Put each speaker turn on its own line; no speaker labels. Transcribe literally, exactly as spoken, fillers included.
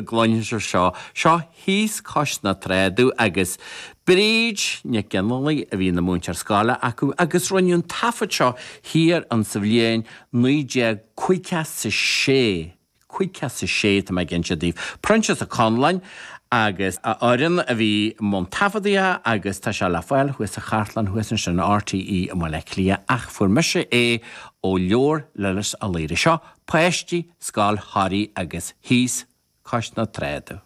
go gcluinfidh sibh seo. Seo Thíos Cois na Tráda agus Bríd Nic Fhionnghaile a bhí ina múinteoir scoile acu agus rinneadh an taifead seo thiar an sa bhliain naoi déag caoga is a sé. Caoga is a sé tá mé ag inse daoibh. Proinsias Ó Conláin agus a fhoireann a bhí i mbun taifeadaithe agus tá sé le fáil thuas sa chartlann thuas ansin in RTÉ i mBaile Átha Cliath ach fuair mise é ó leabhar Lillis Ó Laoire. Seo Páistí Scoil Thoraí agus Thíos Cois na Tráda.